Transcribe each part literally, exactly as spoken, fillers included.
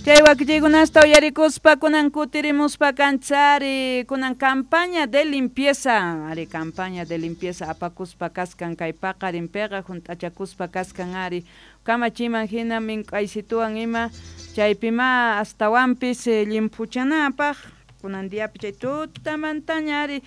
Chay wakichiykunasta uyarikuspa kunan kutirimuspa kanchari kunan campaña de limpieza ari campaña de limpieza apakuspa kaskan kay paqarinpiqa hunt'achakuspa kaskan ari kamachiman hina mink'aysituwan ima chaypima astawanpis llimphuchanapaq kunan diapi chay tutamantaña ari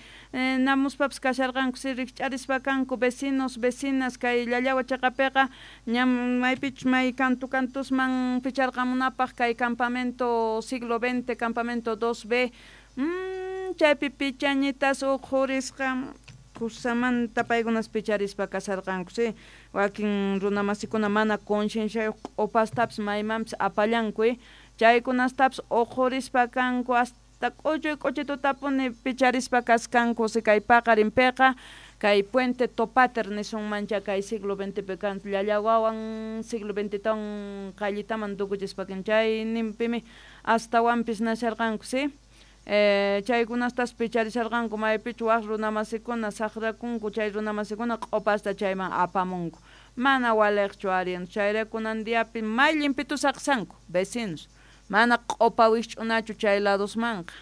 namuspapis kasharqanku si rikch'arispa kanku vecinos vecinas kay Llallawa chaqapiqa ñam maypichus may kantu kantusman picharqamunapaq kay campamento siglo veinte campamento dos B mm, chaypi pichañitas uqhurisqa kusamanta paykunas picharispa kasharqanku si wakin runamasikuna mana concienciayuq q'upastapis maymanpis apallanku chaykunastapis uqhurispa kanku hasta k'uchuy k'uchitutapuni picharispa kaskanku si kay paqarinpiqa kay puente Topater nisunmancha kay siglo veintepi kan Llallawawan siglo veintetawan qayllitaman tukuchispa chayninpimi astawanpis nasharqanku si eh, chaykunastas picharisharqanku maypichu waq runamasikuna saqrakunku chay runamasikuna q'upasta chayman apamunku mana waliqchu ari chayrayku kunan diapi may llimpitu saqsanku vecinos mana q'upa wikch'unachu chay ladosmanqa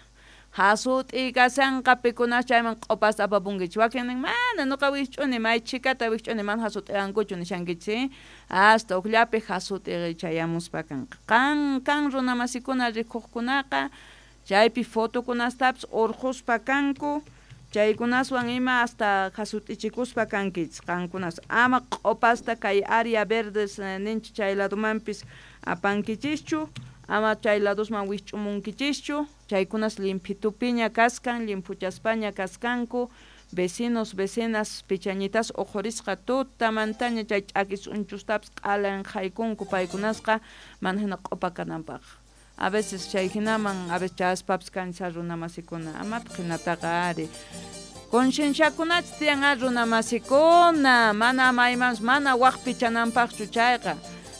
hasut'iy kashanqa pikunas chayman q'upasta apapunkichis wakin nin mana nuqa wikch'uni may chhikata wikch'uni mana hasut'iwankuchu nishankichis hasta ukllapi hasut'i chayamuspa kanqa qan kan runamasikuna rikuqkunaqa chaypi fotokunastapis urqhuspa kanku chaykunaswan ima hasta hasut'ichikuspa kankichis qankunas ama q'upasta kay área verdes ninchik chay ladomanpis apankichischu ama chay ladosman wikch'umunkichischu chaykunas limphitupiña kaskan llimphuchaspaña kaskanku vecinos vecinas pichañitas uqhurisqa tutamantaña chay ch'aki sunchustapis q'alan haykunku paykunasqa mana hina q'upa kananpaq a veces chay hinaman a veces chaspapis kancha runamasikuna amataq hinataqa ari concienciakunachis tiyan ari runamasikuna mana maymanpis mana waq pichananpaqchu chayqa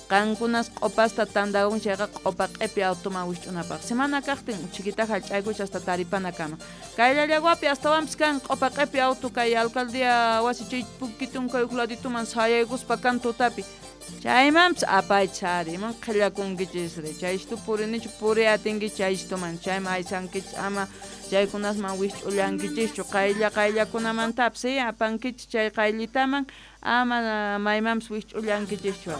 qankunas q'upasta tantakun chayqa q'upa q'ipi automan wikch'unapaq semana kaqtin chiquita hallch'aykuch hasta taripanakama kay Llallawapi astawanpis kan q'upa q'ipi auto kay alcaldía wasi chay pukitun kay huk ladituman sayaykuspa kan tutapi chaymanpis apaychis ari iman qhillakunkichisri chaystu purinichu puriy atinkichis chaystuman chayman aysankichis ama chaykunasman wikch'ullankichischu qaylla qayllakunamantapis apankichis chay qayllitaman ama maymanpis wikch'ullankichischu ari.